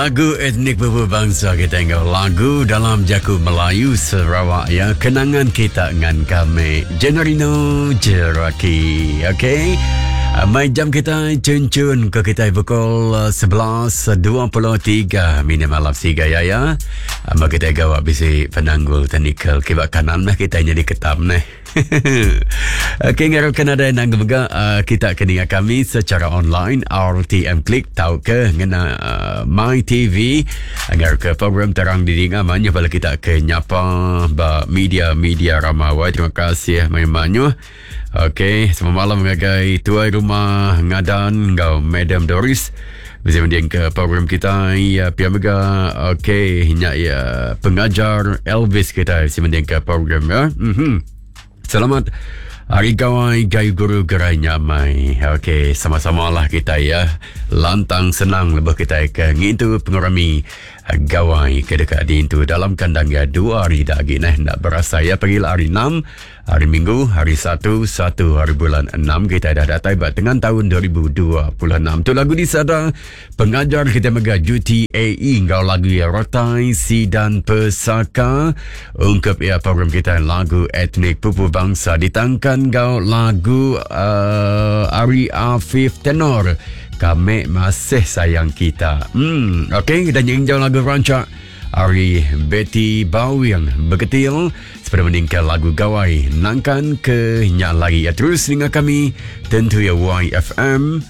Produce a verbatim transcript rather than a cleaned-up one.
Lagu etnik pupu bangsa kita enggau lagu dalam jaku Melayu Sarawak ya, kenangan kita dengan kami Jenorino Jeraki. Okey. Mai jam kita cun-cun ke kita pukul sebelas dua puluh tiga minit malam siga ya ya. Amba kita gawak bisi penanggul teknikal kibak kanan nah kita jadi ketam nah. Okey, ngarapkan ada yang mega uh, kita kena kami secara online R T M Klik tau ke ngena uh, My T V agar ke program terang didinga manyu bala kita ke nyapa ba media-media ramawai. Terima kasih manyu. Okey, selamat malam ngagai tuai rumah Ngadan ngau Madam Doris. Bisa mending ke program kita ya pia mega. Okey, nyak ya pengajar Elvis kita bisa mending ke program ya. Mhm. Selamat Hari Gawai Gayu Guru Gerai Nyamai. Okey, sama-sama lah kita ya. Lantang senang lebih kita ke ngintu pengurami Gawai ke dekat di itu dalam kandang ya dua hari dah lagi nah nak berasa ya pergi hari enam, hari Minggu, hari satu, satu hari bulan enam kita dah datang buat tengah tahun dua ribu dua puluh enam. Tu lagu di sada pengajar kita mega U T A E ngau lagu ya Rotai Sidan Pesaka ungkap ya program kita lagu etnik pupu bangsa ditangkan ngau lagu uh, Ari Afif Tenor Kami Masih Sayang Kita. Hmm, okey, kita nyanyi lagu rancak Ari Betty Bawing Beketil seperti meningkat lagu Gawai nangkan ke nyak lagi ya terus dengar kami tentu ya Y F M